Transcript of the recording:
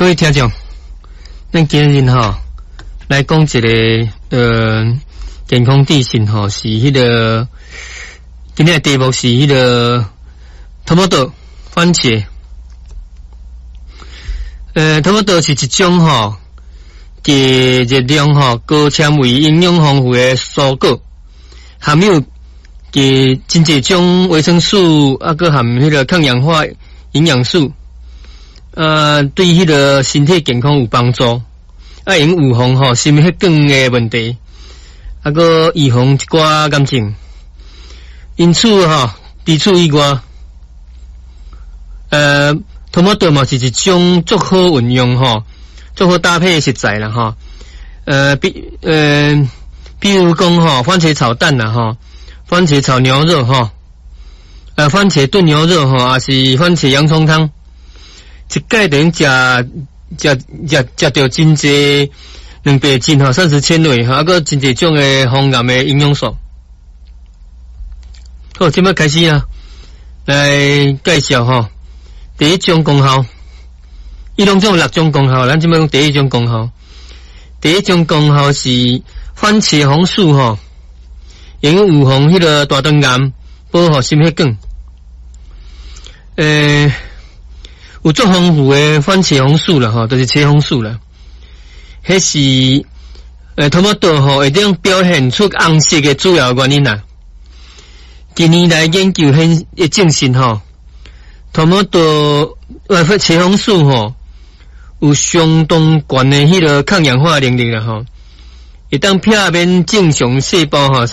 各位聽眾，咱今日吼來講一个健康資訊吼，是彼个今日的題目是彼个 tomato 番茄。Tomato 是一種吼，低熱量吼、高纖維、營養豐富的蔬果，含有佮真濟種維生素，啊，閣含彼个抗氧化營養素，對彼个身體健康有幫助，啊，會用預防吼心血管的問題，啊，閣預防一寡癌症。因此吼，除此以外，Tomato 嘛是一種足好運用吼，足好搭配的食材啦吼。比如講吼，番茄炒蛋啦吼，番茄炒牛肉吼，番茄燉牛肉吼，抑是番茄洋蔥湯，一擺等於食著真濟蛋白質吼，膳食纖維吼，啊，閣真濟種的防癌的營養素。好，這擺開始啊，來介紹吼。第一種功效，伊攏總有六種功效，咱這擺講第一種功效。第一種功效是番茄紅素吼，會用預防彼个大腸癌，保護心血管。有足豐富的番茄紅素啦吼，就是茄紅素啦。彼是tomato 吼會當表現出紅色的主要原因啦。近年來研究顯證實吼，tomato 番茄紅素吼，有相當懸的彼个抗氧化能力啦吼，會當避免正常細胞吼。